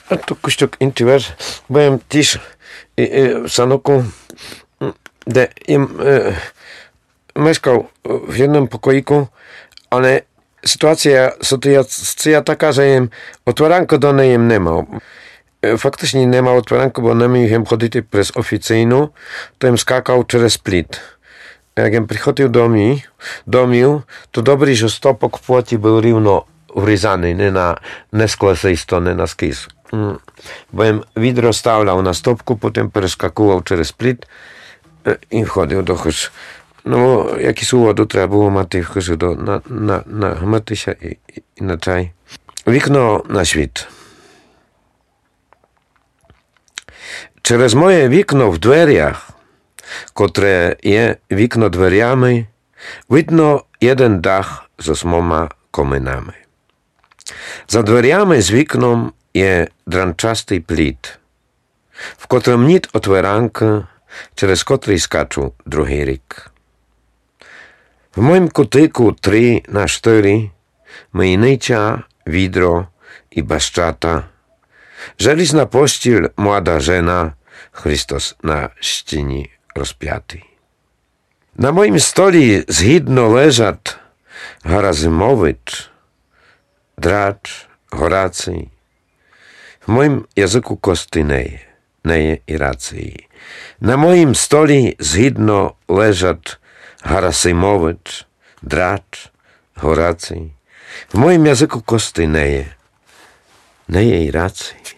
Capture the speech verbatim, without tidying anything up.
А то кущок инчий верш, бо єм тіж, е, е, в саноку, м, де єм, е, мешкал в єдним покоіку, але ситуация, ситуация така, же єм отверанку до неї єм не мал. Е, фактычні не мал отверанку, бо не міг єм ходити през офіцийну, то єм скакал через пліт. Як єм приходил домів, домів, то добрі, же стопок в плоті был рівно врізаный, не на, не скле се исто, не наскіс. М. Бо єм відро ставлял на стопку, потім перескакувал через пліт, е, і входил до хыжы. Но, якісь уводы треба было мати в хыжы до, на, на, на гмыти ся і, і, і на чай. Вікно на світ. Через моє вікно в дверях, котре є вікно дверями, видно єден дах зо смома коминами. За дверями з вікном є дранчастый пліт, в котрым ніт отверанкы, через котрый скачу другый рік. В моїм кутыку три на штыри, мийнича, відро і бащата, желізна постіль, млада жена, Христос на стіні розпятый. На моїм столі згідно лежат Гарасимович, Драч, Гораций. В моїм языку кости не є, не є і рації. На моїм столі згідно лежат Гарасимович, Драч, Гораций. В моїм языку кости не є, не є і рації.